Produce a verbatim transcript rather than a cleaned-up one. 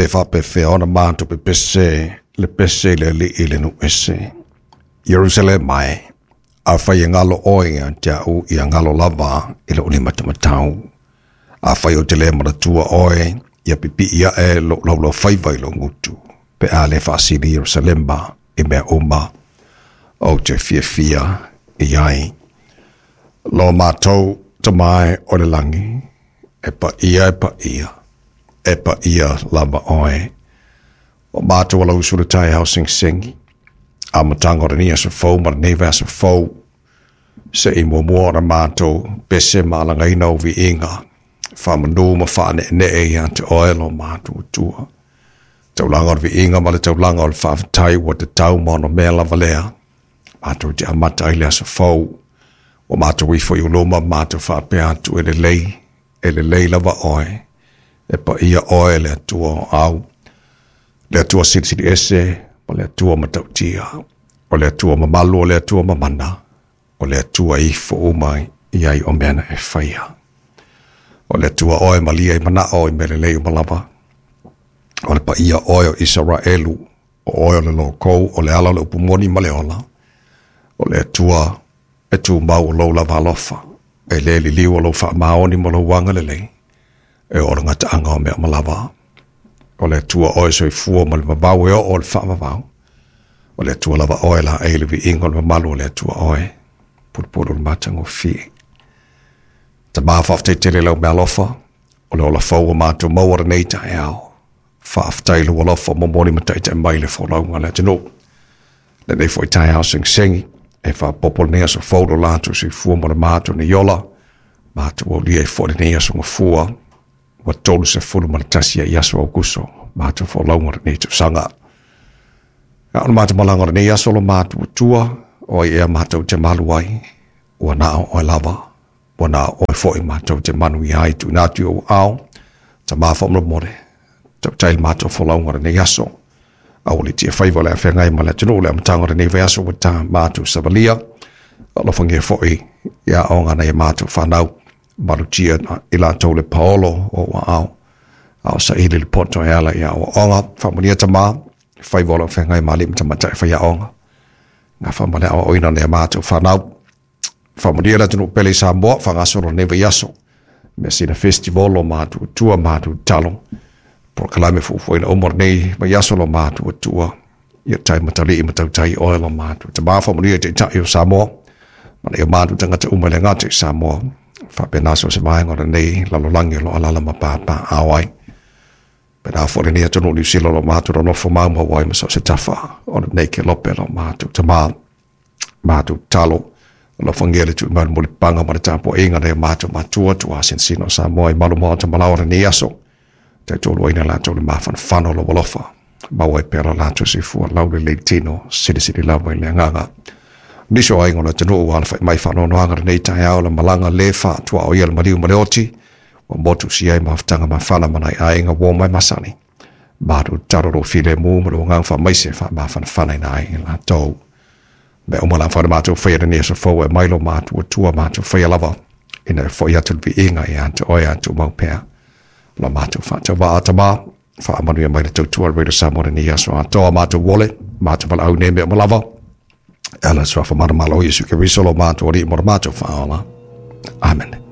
Pe faapefea ona matou pepese le pese i le Alii i le nuu ese. Ierusalema e, afai e galo oe ia te au ia galo lava i lou limatamatau. Afai ou te le manatua oe, ia pipii ae lou laulaufaiva i lou gutu, pe a le faasili Ierusalema i mea uma ou te fiafia i ai. Lo matou Tama e o le lagi, e paia e paia, e paia lava oe. O matou alausu i le taeao segisegi, amataga o lenei aso fou ma lenei vaiaso fou, se i muamua ona matou pese ma alagaina ou viiga, faamanu ma faaneenee ia te oe lo matou Atua. Taulaga o le viiga ma le taulaga o le faafetai ua tatau ma ono mea lava lea. Matou te amata ai le aso fou, ua matou ifo i ou luma matou faapea atu e lelei, e lelei lava oe, e paia oe le Atua o au, le Atua silisili ese ma le Atua matautia, o le Atua mamalu o le Atua mamana, o le Atua ifo uma i ai o mea na e faia. O le Atua oe malia i manao i mea lelei uma lava. O le paia oe o Isaraelu, o oe o le lokou, o le ala o le upu moni ma le ola. O le Atua e tumau o lou lava alofa, e le liliu o lou faamaoni ma lou agalelei, e oo i le gataaga o mea uma lava. O le Atua oe soifua ma le vavau e oo i le faavavau. O le Atua lava oe laei i le viiga o le mamalu o le Atua oe, pulupulu o le matagofie. Tama faafetai tele i lau meaalofa, o le ola fou ua matou maua lenei taeao. Faafetai i lou alofa momoli ma taitai mai le folauga a le atunuu. Lenei foi taeao segisegi, e faaopoopo lenei aso fou lo latou soifua ma le matou nei ola, matou aulia ai foi lenei aso gafua, ua tolu sefulu ma le tasi ai aso Aokuso, matou folauga o lenei tausaga. A o le matou malaga o lenei aso lo matou Atua, o ai ea matou te malu ai, ua na o oe lava, ua na o oe foi matou te manuia ai tuuina atu i ou aao, Tama faamolemole, tautai le matou folauga o lenei aso. Aua le tia faiva o le a feagai ma le atunuu le amataga o lenei vaiaso ua ta matou savalia. Alofagia foi i aoga a nai a matou fanau, malutia i latou le paolo o ou aao, a o saili le poto e ala i aoaoga. Faamanuia Tama, faiva o lo o feagai ma alii ma tamaitai faiaoga, gafa ma le aoaoina o nai a matou fanau. Faamanuia le atunuu pele i Samoa, faagasolo lenei vaiaso. Measina Festival o matou Atua, matou tatalo. Polokalame fuafuaina uma o lenei vaiaso lo matou Atua. Ia tai matalii ma tautai oe lo matou Tama, faamanuia i Taitai o Samoa, ma nai o matou tagata uma e le gata i Samoa. Faapena so o se vaega o lenei lalolagi o lo o alaala ma papaaao ai. Pena foi lenei atunuu Niu Sila o lo matou nonofo maumau ai ma so o se tafa o lenei kelope lo matou Tama. Matou tatalo, alofagia le tuuina mai o le mulipapaga ma le tapuaiga nai o matou matua tuasinsina o Samoa i malu maota malaoa o lenei aso. Taitoluaina latou le mafanafana o lou alofa. Maua ai pea lo latou soifua laulelei tino, silisili lava i le agaga. Nisi o aiga o le atunuu ua alafai mai faanoanoaga lenei taeao le malaga le faatuaoia le maliu ma le oti, ua motusia ai mafutaga mafana ma nai aiga ua omai masani. Matou tatalo lou filemu ma lou agaga faamaise faamafanafana ina ai latou. Mea uma la whare mātou whaia lenei aso fou e mai lo mātou Atua mātou whaia lava ina e foi atu le viiga ia te oe a tumau pea. Lo mātou whaatau tama, whaamanuia mai le tautua Radio Samoa lenei aso atoa mātou wole, mātou walaau nei mea uma lava. E ala suafa mana malo Iesu Keriso lo mātou Alii mo le mātou whaola. Amen.